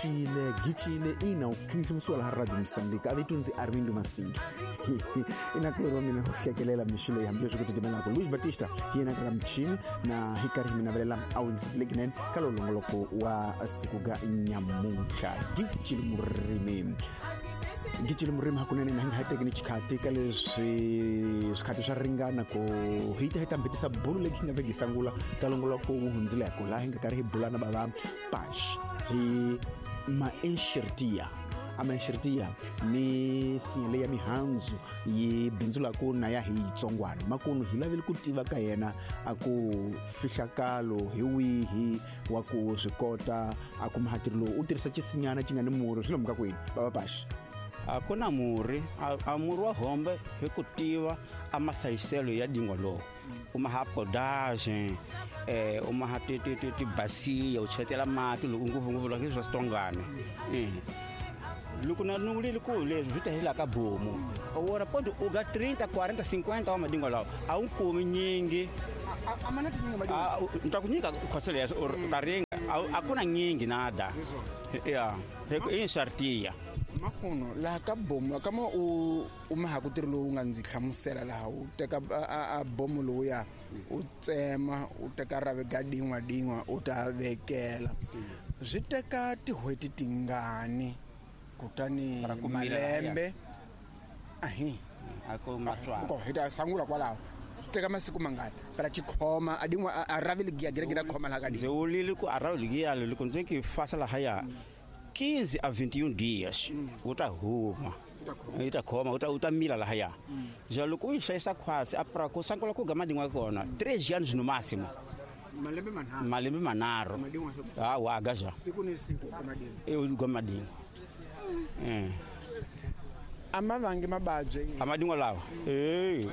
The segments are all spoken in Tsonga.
Gicile gicile ina u khinhlimisiwa laha Radio Mozambique a vito ndzi Armindo Masingi ina kulori wa mina u hlekelela mixo leyi hambileswi ku titimelaka Luis Batista hi yena kaka michini na hi karhi hi mi navelela a wingiseteleki ka lowu longoloko wa siku ga nyamuntlha. Gicile murimi, gicile murimi hakunene na hi nga ha teki ni xikhati ka leswi swikhati swa ringana ku hi ta hi ta mbitisa bulu leyi hi nga veki sangula ka longoloko wu hundzileko laha hi nga karhi hi bula na bava Pax hi maenxertiya amaenxertiya ni sinya leyi ya mihandzu yi bindzulaku na ya hi yitsongwana makunu hi lavele ku tiva ka yena a ku fihlakalo hi wihi wa ku swi kota a kuma hatiri lowu u tirhisa xisinyana xi nga ni murhi swi lomuka kwini bava Pax? A ku na murhi a murhi wa hombe hi ku tiva a masayiselo ya dingwa lowu u maha podage u maha tibasiya u chetela mati loko ngopfungopfu loko swa switongwana loko na nungulile ku leswi swi ta hela ka bomu wona podi u ga 30 40 50 wa madingwa lawa a wu kumi nyingi. Ni ta ku nyika khoselo ya u ta ringa a ku na nyingi nada ya i nshartiya. Makuno laha ka bomu kama u maha ku tirhi lowu nga ndzi hlamusela laha u teka a bomu lowuya u tsema u teka rave ga din'wa din'wa u ta vekela swi teka tin'hweti tingani kutani malembe ahi hi ta sangula kwalaho teka masiku mangani para xikhoma a din'wa a ravi ligiya gira khoma laha ka ndzi wulile ku a ravi ligiya loko ndzi ki fasa lahaya 15 a 21 dias u ta huma yi ta khoma u ta mila lahaya. Ja loko u yi hlayisa khwasi a pra ku sangula ku ga madingwa kona 3 anos no máximo, malembe manharhu a wa ga ja siku ni siku u ga madingwa a ma vangi mababyi a madingwa lawa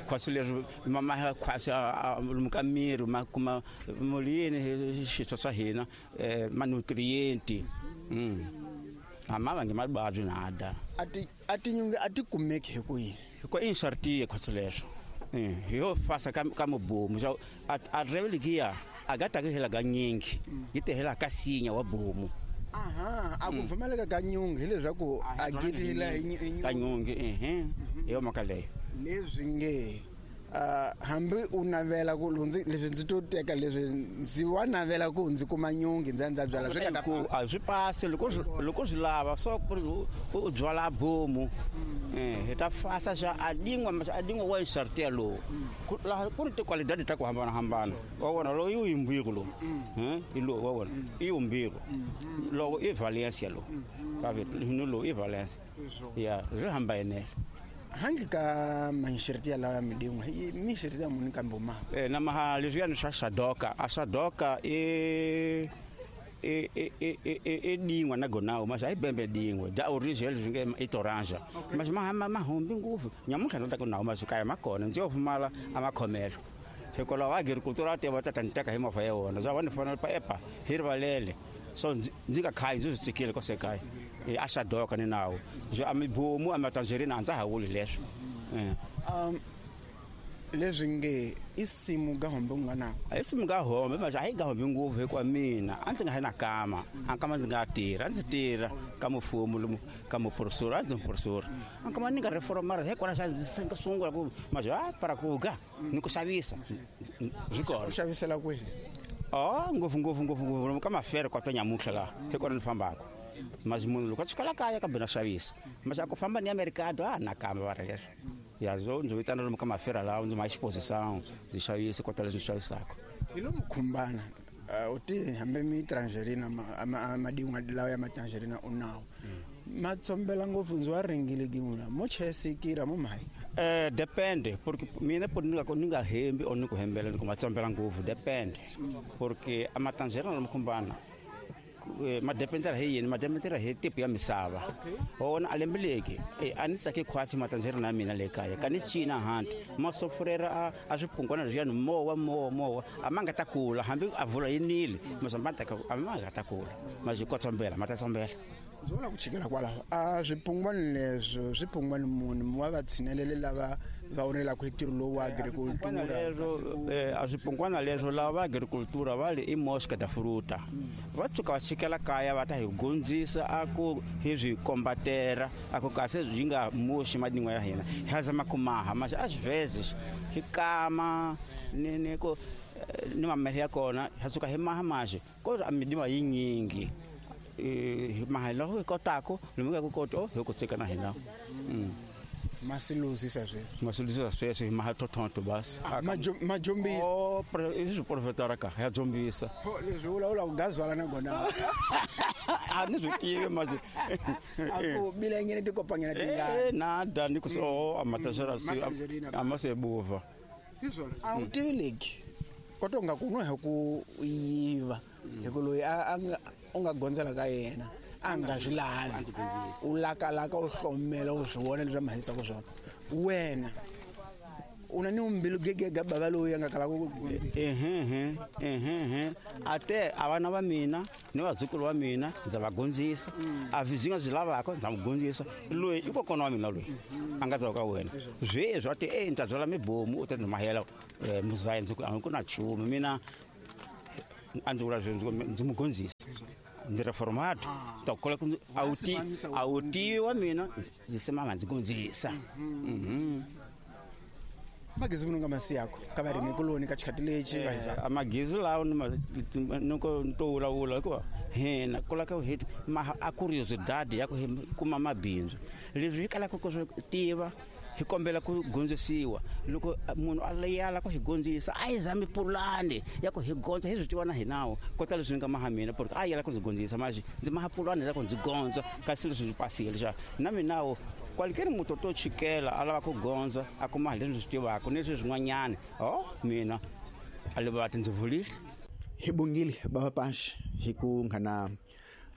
khwasi leswi ma khwasi lomu ka miri ma kuma mulini xiswo swa hina manutrienti a ma vangi mababyi nada. A tinyunge a ti kumeki hi kwihi? Hikuva i nshartiye khwasi leswo hi yo fasa ka mubomu so a revelikiya a ga taki hela ga nyingi yi ti hela ka sinya wa bomu. Aha, a ku pfumaleka ka nyungi hileswaku a gitila ka nyungi hi yo mhaka leyo leswi nge hambi u navela ku leswi ndzi to teka leswi ndzi wa navela ku ndzi kuma nyungi ndzi ya ndza byala swi nga ku a swi pasi loko swi lava so u byala bomu hi ta fasa xa a dingwa wa nshartiya lowu laha ku ri tikwalidadi ta ku hambanahambana wa vona lowu i yimbiko lowu hi lowu wa vona i yimbiko loko i Valencia lowu ni lowu i Valencia ya swi hambanele. Hangi ka manxertiya lawa ya midin'wa mixertiya muni kambe ma na maha leswiyani swa Sadoka a Sadoka i dingwa na gonawo mas a yi bembe dingwa da original leswi nge i toranja mas ma humbi ngopfu nyamuntlha ndzi ta ku nawo mas kaya ma kona ndzi yo pfumala a makhomelo hikwalaho agricultura a tiva ta ta ni teka hi movha ya wona bya va ni fanele pa epa hi rivalele so ndzi nga khayi ndzi swi tsikile kwase kaya a Sadoka ni nawo byo a mibomu a matanzerina a ndza ha vuli leswo. Leswi nge i simu ga hombe u nga na i simu ga hombe mas a hi ga hombe ngopfu hikuva mina a ndzi nga ha na kama a kama ndzi nga tirha a ndzi tirha ka mufumo lomu ka muprofesora a ndzi muprofesora a kama ni nga reformara hikwalaho xa ndzi sungula ku mas a para ku ga ni ku xavisa swi kona. U xavisela kwini? Ngopfu ngopfu ngopfu ngopfu ka mafere kwata nyamuntlha laha hi kona ni fambaka mas munhu loko a tsukela kaya kambe na xavisa mas a ku famba ni ya mercado a na kamba va ri leswo ya zo ndzi vitana lomu ka mafera lawa ndzi ma exposição ndzi xavisa kota leswi ndzi xavisaka. Hi lomu khumbana u ti hambi mi tangerina madingwa lawa ya matangerina u nawo ma tsombela ngopfu ndzi wa ringile gimula mo chesikira mo mayi depende porque mina por ni nga hembi or ni ku hembela ni ku ma tsombela ngopfu depende porque a matangerina lomu khumbana ma dependera hi yini ma dependera hi tipo ya misava wona a lembeleki a ni tsaki khwasi matanzerina ya mina le kaya ka ni cina hanti ma sofurera a swipungwana leswiyani mowa mowa mowa a ma nga ta kula hambi a vula yi nile mas a ma nga ta kula mas yi kotsombela ma ta tsombela. Ndzi vona ku chikela kwalaho a swipungwani leswo swipungwani munhu wa va tshinelele lava va onelaka hi ntirho lowu wa agricultura. A swipungwana leswo lava va agricultura va le i mosca da fruta va tshuka va chikela kaya va ta hi gondzisa a ku hi swi kombatera a ku kasi byi nga moxi madingwa ya hina hi zama ku maha mas às vezes hi kama ni ku ni mamele ya kona ha suka hi maha maxi kodwa midima yinyingi maha loko hi kotako lomu nga ku koto hi ku tsika na hina. Masiluzisa sweswi masiluzisa sweswi hi maha totonto basi majombisa o i swi profetara ka ya jombisa leswi vulavula ku gazwala na gona a ni swi tivi masi a ku bilengene tikopanyana tingani nada ni ku so amatashara amasebuva a wu tivi leki kodwa nga ku no hi ku yiva hi ku loyi a u nga gondzela ka yena a nga swi lavi u lakalaka u hlomela u swi vona leswi a mahisaka swona wena u na ni mbilu gegega bava loyi a nga kalaka ku gondzisa. Ate a vana va mina ni vazukulu va mina ndza va gondzisa a swi nga swi lavaka ndza n'wi gondzisa loyi i kokwana wa mina loyi a nga dzaka ka wena sweswi a te e ni ta byala mibomu u ta ndzi mahela muzayi ndzi ku a ku na nchumu mina a ndzi vula ndzi n'wi gondzisa ndzi reformato ta kola ku a wu tivi wa mina ndzi simama ndzi gondzisa. Magezi munhu nga masi yako ka varimi kuloni ka xikhati lexi va hizwa a magezi lawo ni ko to vulavula hikuva hina kula ka hi a curiosidade ya ku hi kuma mabindzu leswi hi kalaka ku swi tiva hi kombela ku gondzisiwa loko munhu a yala ku hi gondzisa a hi zami pulani ya ku hi gondza hi swi tiva na hinawo kota leswi ni nga maha mina porque a yala ku ndzi gondzisa maxi ndzi maha pulani ya ku ndzi gondza kasi leswi ndzi pasile xa na minawo kwalikeni muto to chikela a lava ku gondza a kuma leswi ndzi swi tivaka ni leswi swin'wanyana o mina a livati ndzi vulile. Hi bongile bava Panshi hi ku nghana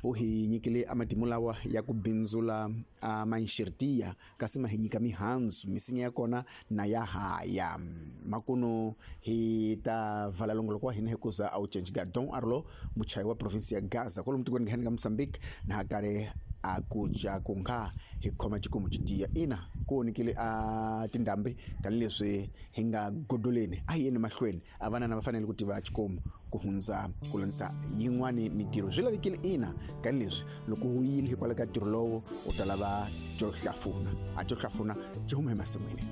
u hi nyikile amatimu lawa ya ku bindzula a manxirtiya kasi ma hi nyika mihandzu misinya ya kona na ya haya makuno hi ta vala longoloko wa hina hi kuza a wu cenci Don Arlo muchayi wa provinsi ya Gaza kwalomu tikweni ka Mozambique na hakare a ku ca ku nga hi khoma xikomu xi tiya ina ku onekile a tindhambi tanihileswi hi nga godoleni a hi yeni mahlweni a vanana va fanele ku tiva xikomu ku hundza ku landza yin'wani mitirho swi lavekile ina tanihileswi loko u yile hikwalaho ka ntirho lowo u ta lava xo hlafuna a xo hlafuna xi huma emasin'wini.